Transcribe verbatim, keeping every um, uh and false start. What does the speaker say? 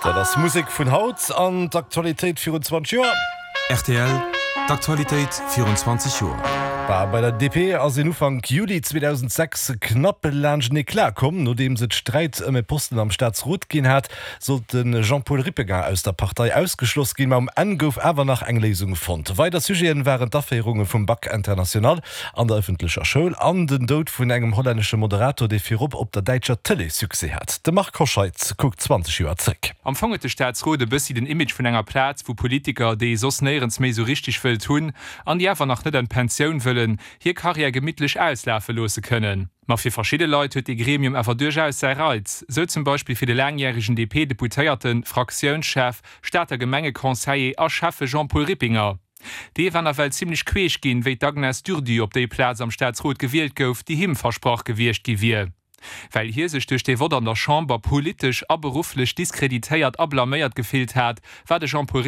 Dat ass Musek vun haut an d'Aktualitéit virun zwanzeg Joer. R T L, d'Aktualitéit virun zwanzeg Joer. Bei der D P ass een Ufank Juli zweedausendsechs knapp laanschtenee klar komm. Nodeems et Sträit ëm e Posten am Staatsrot ginn hat, sollt de Jean-Paul Rippinger aus der Partei ausgeschloss ginn, ma um Enn gouf awer nach eng Léisung fonnt. Weider Sujete waren d'Aféierunge vum Bac international an der ëffentlecher Schoul an den Doud vun engem hollännesche Moderator, dee virop op der däitscher Tëlee Succès hat. De Marc Hoscheid kuckt zwanzeg Joer zréck. Am Fong huet de Staatsrot e bëssi den Image vun enger Plaz, wou Politiker, déi ee soss néierens méi sou richteg wëllt hunn an déi awer nach net an d'Pensioun wëllen, hir Karriär gemittlech auslafe loosse kënnen. Ma fir verschidde Leit huet de Gremium awer duerchaus säi Reiz, sou zum Beispill fir de laangjäregen D P-Deputéierten, Fraktiounschef, Stater Gemengeconseiller a Schäffe Jean-Paul Rippinger. Dee war nawell zimmlech queesch ginn, wéi d'Agnès Durdu op déi Plaz am Staatsrot gewielt gouf, déi him versprach gewiescht gi wier. Well hie sech duerch de Vott an der Chamber politesch a berufflech diskreditéiert a blaméiert gefillt hat, war de Jean-Paul Rippinger